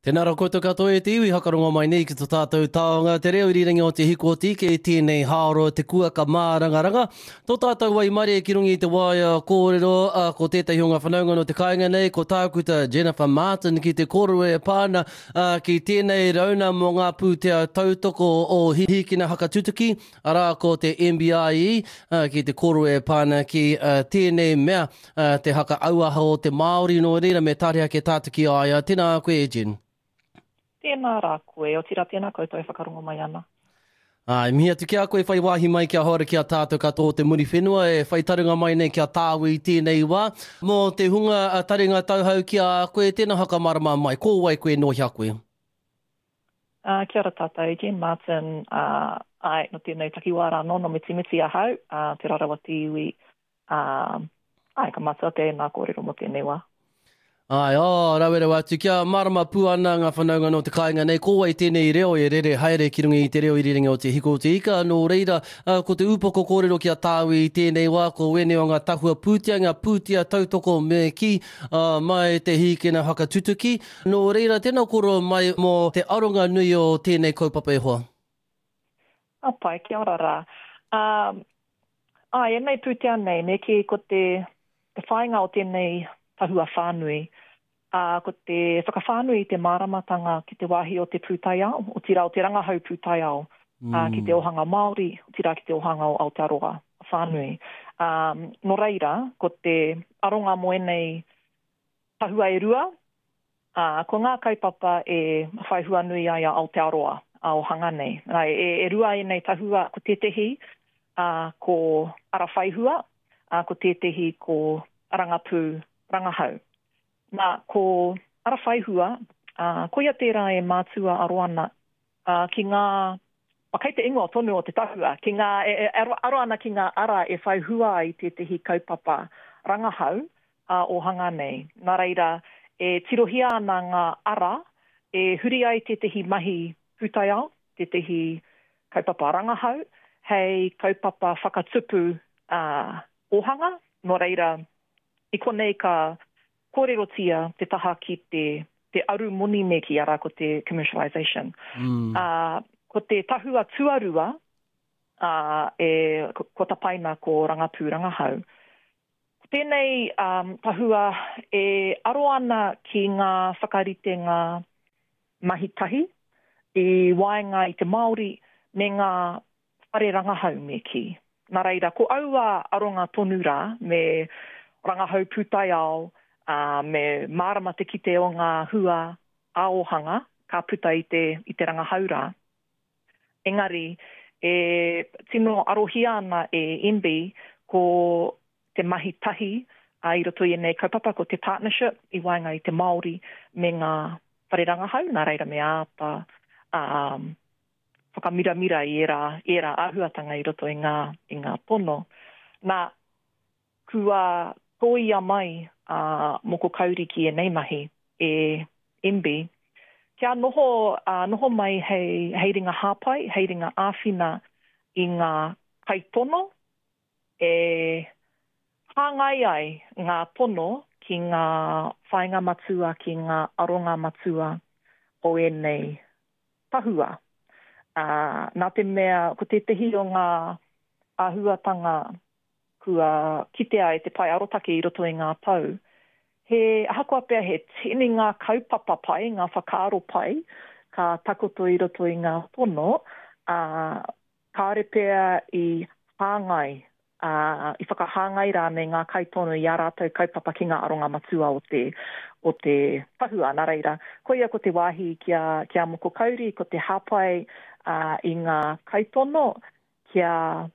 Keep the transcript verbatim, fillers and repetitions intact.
Tēnā rā koutou katoa e te iwi hakarongo mai nei ki to tātou taonga te reo irirangi o Te Hiku o Te Ika i tēnei hāoro te kuaka mārangaranga. Tō tātou waimarie ki runga i te waea kōrero a, ko tētahi o ngā whanaunga no te kāinga nei, ko tākuta Jennifer Martin ki te kōrero e pā ana a, ki tēnei rauna mō ngā pūtea tautoko o Hīkina Whakatutuki, arā ko te M B I E, a, ki te kōrero e pā ana ki a, tēnei mea a, te haka auaha o te Māori, nō reira me tare ake tātou ki a ia. Tēnā koe e Jen. Tēnā rā koe, otirā tēnā koutou e whakarongo mai ana. Ai, mihi atu ki a koe whai wāhi mai kia hora ki a tātou katoa o te Muriwhenua e whai taringa mai nei kia tāu i tēnei wā. Mō te hunga taringa tauhau ki a koe, tēnā whakamarama mai, ko wai koe nō hea koe? Uh, kia ora tātou, Jen Martin, uh, ai, no tēnei takiwā rā nō, no Mitimiti ahau, uh, te Rarawa te iwi, uh, ai, ka matua tēnā kōrero mō tēnei wā. Ai, oh, rawe rawa atu, kia marama pū ana ngā whanaunga nō te kāinga nei, ko wai tēnei reo e rere haere ki runga i te reo irirangi o Te Hiku o Te Ika, nō reira, uh, ko te ūpoko kōrero ki a tāu i tēnei wā, ko wēnei o ngā tahua pūtea, ngā pūtea tautoko me ki, uh, mai te Hīkina Whakatutuki. Nō reira, tēnā kōrero mai mō te aronga nui o tēnei kaupapa e hoa. A pai, kia ora rā. Um, ai, ēnei pūtea nei, me ki ko te, te whāinga o tēnei tahua whānui, uh, ko te whakawhānui i te māramatanga ki te wāhi o te pūtaiao, otirā o te rangahau pūtaiao, mm. uh, ki te ohanga Māori, otirā ki te ohanga o Aotearoa whānui. Um, nō reira, ko te aronga mō ēnei tahua e rua, uh, ko ngā kaupapa e whai hua nui ai a Aotearoa a ohanga nei. Nā, e, e rua ēnei tahua, ko tētehi, uh, ko ara whaihua, uh, ko tētehi ko rangapū rangahau. Nā, ko ara whaihua, uh, koia tērā e mātua aro ana uh, ki ngā, o, kei te ingoa tonu o te tahua, ki ngā, e, e, aro, aro ana ki ngā ara e whaihua ai tētehi kaupapa rangahau uh, ohanga nei. Nā reira, e tirohia ana ngā ara e huri ai tētehi mahi pūtaiao, tētehi kaupapa rangahau, hei kaupapa whakatupu uh, ohanga. Nō reira, i konei ka kōrerotia te taha ki te, te aru moni me ki ara ko te commercialization. Mm. Uh, ko te tahua tuarua, uh, e, ko, ko tapaina ko rangapū rangahau. Ko tēnei um, tahua e aro ana ki ngā whakaritenga mahi tahi i waenga i te Māori me ngā whare rangahau me ki. Nā reira, ko aua aronga tonu rā me rangahau pūtaiao, uh, me mārama te kite o ngā hua ā-ohanga ka puta i te, i te rangahau rā. Engari, e tino arohia ana e M B ko te mahi tahi uh, i roto i ēnei kaupapa, ko te partnership i waenga i te Māori me ngā whare rangahau, nā reira me āta um, whakamiramira i ērā, ērā āhuatanga i roto i ngā, i ngā tono. Nā, kua tōia mai a uh, Moko Kauri ki ēnei mahi e M B, kia noho, uh, noho mai hei, hei ringa hāpai, hei ringa āwhina i ngā kaitono e hāngai ai ngā tono ki ngā whāinga matua, ki ngā aronga matua o ēnei tahua. Uh, nā te mea, ko tētehi o ngā āhuatanga kua kitea e te pae arotake i roto i ngā tau, he ahakoa pea he tini ngā kaupapa pai, ngā whakaaro pai, ka takoto i roto i ngā tono, uh, kāore pea i hāngai, uh, i whakahāngai rānei ngā kaitono i ā rātou kaupapa ki ngā aronga matua o te, o te tahua. Nā reira, koia ko te wāhi ki a, ki a Moko Kauri, ko te hāpai, uh, i ngā kaitono kia